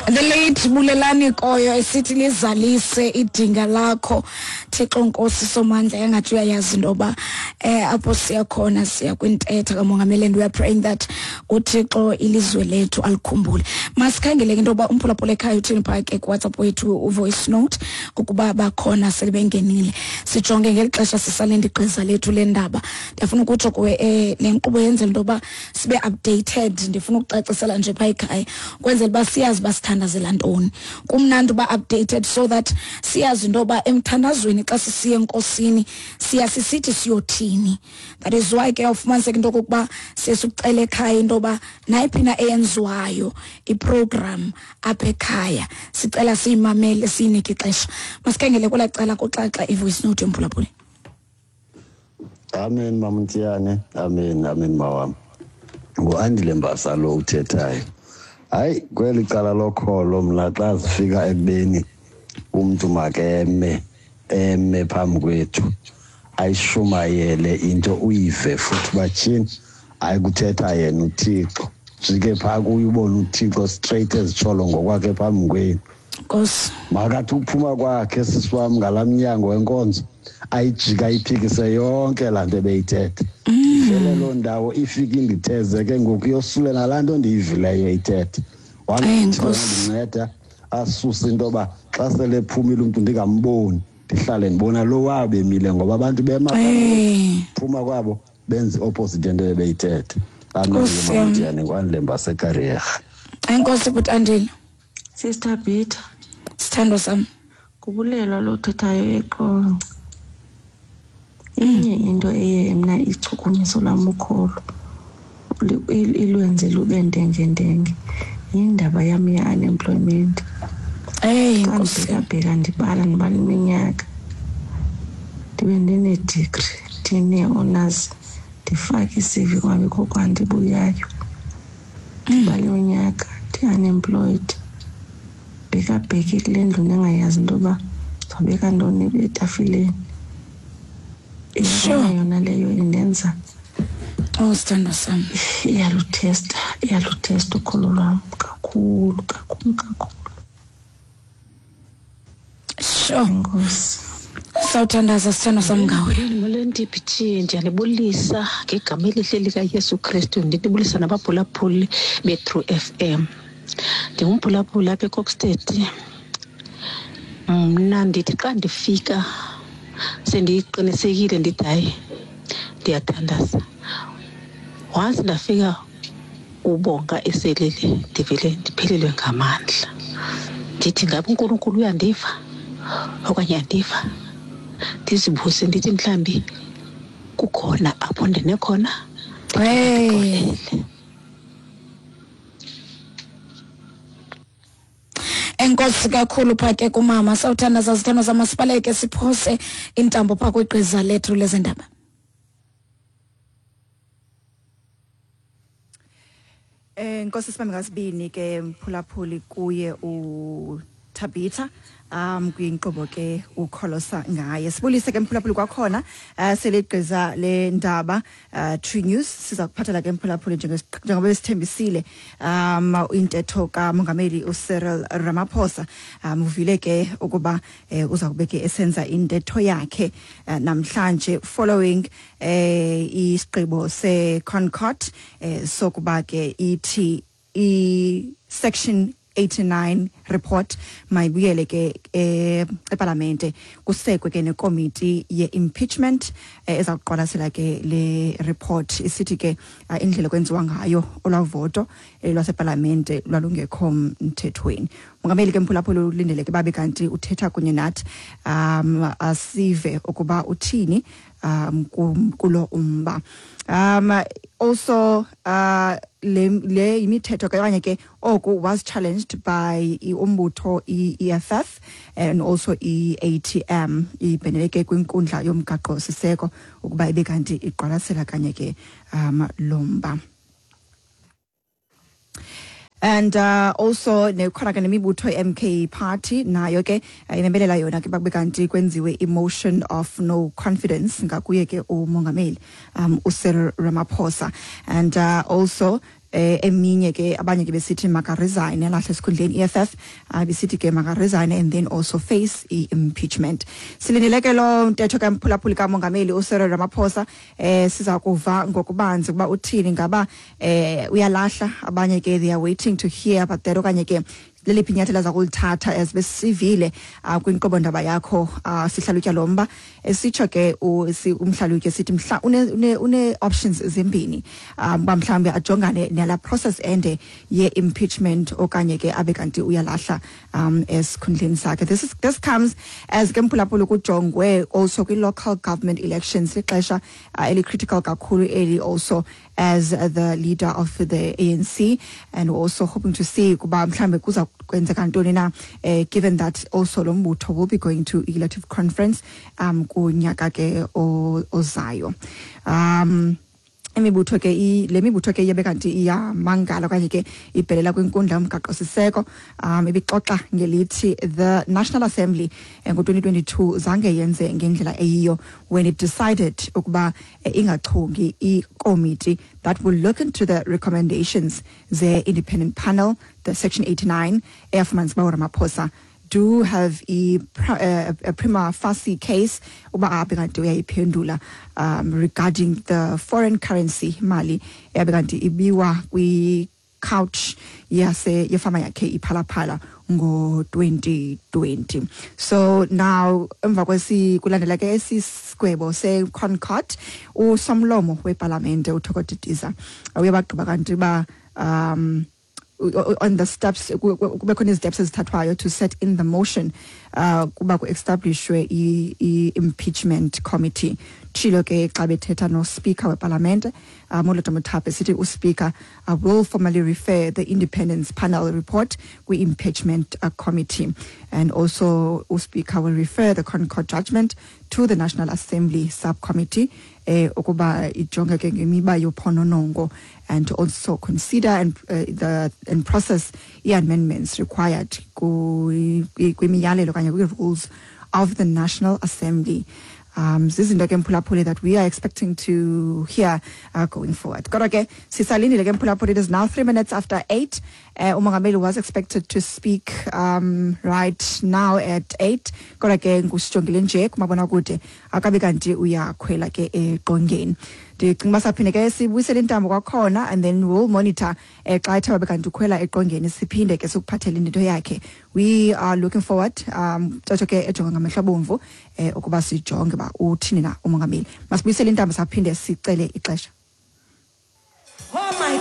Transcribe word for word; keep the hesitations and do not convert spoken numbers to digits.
The late Bulelani Koyo esithi lizalise idinga lakho Thixo Nkosi Somandla, engathi uyayazi into yoba eh apho siya khona siya kwintetha kamongameli, and we are praying that uThixo ilizwe lethu alikhumbule. Masikhangele ke into yoba umphulaphula ekhaya uthini phaa ke kuWhatsApp wethu uvoice note, ukuba bakhona sele bengenile. Sijonge ngeli xesha sisalinde igqiza lethu lendaba. Ndiyafuna ukutsho kuwe eh le nkqubo yenzela into yoba sibe updated. Ndifuna ukucacisela nje phaa ekhaya kwenzela uba siyazi uba sithandazela ntoni. Kumnandi uba updated so that siyazi into yoba emthandazweni xa sisiya enkosini siya sisithi siyothini. That is why ke ufumaniseka into yokokuba siye sikucela ekhaya into yoba nayiphi na eyenziwayo iprogram apha ekhaya sicela siyimamele siyinike ixesha. Masikhangele kwelaa cala kuxaxa ivoice note yomphulaphuli. Amen Mamntiyane, amen, amen mawam. Ngu-Andile Mbasa lo uthethayo. Hayi, kweli cala lokholo mna xa sifika ekubeni umntu makeme eme phambi kwethu ayishumayele into uyive futhi batyhini, hayi kuthetha yena uThixo. Jike phaa kuye ubone uThixo straight ezitsholo ngokwakhe phambi kwenu. Nkosi. Makathi ukuphuma kwakhe sisi wam ngalaa mnyango wenkonzo ayijika ayiphikise yonke laa nto ebeyithetha. Ivele loo ndawo ifike inditheze ke ngoku yosule nalaa nto ndiyivileyo ithetha. Wandinceda asuse into yoba xa sele ephumile umntu ndingamboni, ndihlale ndibona lo wabo emile ngoba abantu bema phuma kwabo benze opposite into ebeyithetha. Amen. Ngwandile Mbasa eKariega. Enkosi bhuti Andile. Sister Peter. Sithandwa sam. Kubulelwa lo uthethayo eQonce. Inye into eye mna ichukumiso lam ukholo ilwenze lube ndenge-ndenge yindaba yam ye-unemployment. Eyi Nkosi. Ndibheka ndibala ndibala iminyaka ndibe ndine-degree ndine-honors ndifake i-C V kwabikho kwandibuyayo. Ndibala iminyaka ndi-unemployed, bhekabheke kule ndlu ndingayazi into yoba ndizawubeka ntoni etafileni. Sure. Yona leyo indenza Oh sithandwa sam. Iyaluthesta, iyaluthesta ukholo lwam kakhulu kakhulu kakhulu. Sure. Enkosi. Sawuthandaza sithandwa sam ngawe. Molweni D P T, ndiyanibulisa ngegama elihle likaYesu Kristu. Ndinibulisa nabaphulaphuli beTrue F M. Ndingumphulaphuli apha eKokstad. Mna ndithi xa ndifika sendiqinisekile ndithi hayi ndiyathandaza. Once ndafika ubonga eselele ndivele ndiphelelwe ngamandla. Ndithi ngabe uNkulunkulu uyandiva okanye andiva. Ndizibuze ndithi mhlambi kukhona apho ndinekhona. Hey. Enkosi kakhulu phaa ke kumama. Sawuthandaza zithandwa zam, masibaleke siphose intambo phaa kwigqiza lethu lezendaba. Eh Nkosi sibambe ngasibini ke mphulaphuli kuye uThabitha um kwinkqubo ke ukholosa ngaye. Sibulise ke mphulaphuli kwakhona uh, seligqiza le ndaba uh, True News siza kuphathela ke mphulaphuli njengoba besithembisile um intetho kamongameli uCyril Ramaphosa. Um uvile ke ukuba eh, uza kube ke esenza intetho yakhe uh, namhlanje following eh isigqibo seConcourt eh, sokuba ke ithi i section eighty-nine report mayibuyele ke eParlamente kusekwe ke nekomiti ye-impeachment eza kuqwalasela ke le report isithi ke indlela kwenziwa ngayo olwavoto lwaseParlamente lwalungekho mthethweni. Mongameli ke mphulaphuli ulindeleke babe kanti uthetha kunye nathi um asive ukuba uthini um kulo umba. Um also uh le le imithetho kanye ke oku was challenged by umbutho i-E F F and also i-A T M ibheneleke kwinkundla yomgaqo siseko ukuba ibe kanti iqwalasela kanye ke um lomba. And uh, also nekhona ke nemibutho M K Party nayo ke imemelela yona ke bakube kanti kwenziwe emotion of no confidence ngakuye ke umongameli um uCyril Ramaphosa. And uh, also eh eminye ke abanye ke besithi maka resign alahle esikhundleni E F F uh, besithi ke maka resign and then also face i-impeachment. Silindele ke lo ntetho kamphulaphuli kamongameli uCyril Ramaphosa eh siza kuva ngokubanzi kuba uthini, ngaba eh uyalahla, abanye ke they are waiting to hear about that, okanye ke leliphi inyathelo aza kulithatha as besivile uh, kwinkqubo ndaba yakho uh, sihlalutya lo mba esitsho ke umhlalutye sithi mhla une, une, une options zimbini um uba mhlawumbi ajongane nala process ende ye-impeachment okanye ke abe kanti uyalahla um esikhundleni sakhe. This is this comes as ke mphulaphula kujongwe also kwi-local government elections, lixesha uh, eli-critical kakhulu eli also as the leader of the A N C, and we're also hoping to see kuba mhlambe kuza kwenzeka ntoni na eh, given that also lo mbutho will be going to elective conference um kunyaka ke ozayo. Um imibutho ke le mibutho ke iye kanti iyamangala okanye ke ibhelela kwinkundla yomgaqo-siseko um ibixoxa ngelithi the National Assembly ngo twenty twenty-two zange yenze ngendlela eyiyo when it decided ukuba ingachongi ikomiti that will look into the recommendations ze independent panel, the section eighty-nine eyafumanisa uba uRamaphosa do have a, a, a prima facie case uba abe kanti uyayiphendula um regarding the foreign currency mali yabe kanti ibiwa kwi couch yase yefama yakhe iPhalaphala ngo twenty twenty. So now emva kwesi kulandela ke esisigwebo se ConCourt usomlomo weParliament uThoko Didiza uyabagqiba kanti ba um on the steps kube khona isteps ezithathwayo to set in the motion uh kuba ku-establishwe i-impeachment committee. Tshilo ke xa bethetha no speaker weParliament uh, Moloto Mothape sithi uspeaker uh, will formally refer the independence panel report kwi-impeachment uh, committee, and also uspeaker will refer the ConCourt judgment to the National Assembly subcommittee eh ukuba ijonge ke ngemiba yophononongo and to also consider and uh, the and process the amendments required kwimiyalelo okanye kwi-rules of the National Assembly. Um zizinto ke mphulaphuli that we are expecting to hear uh, going forward. Kodwa ke sisalindile ke mphulaphuli, it is now three minutes after eight. Uh, umongameli was expected to speak um right now at eight. Kodwa ke ngusijongile nje kumabonakude akabe kanti uyakhwela ke eqongeni. Ndicinga uba saphinde ke sibuyisele intambo kwakhona and then we'll monitor eh, xa ethe wabe kanti ukhwela eqongeni siphinde ke sikuphathele into yakhe. We are looking forward um tsho ke ejonga ngamehlo abomvu eh, ukuba sijonge ba uthini na umongameli. Masibuyisele intambo saphinde sicele ixesha. Oh my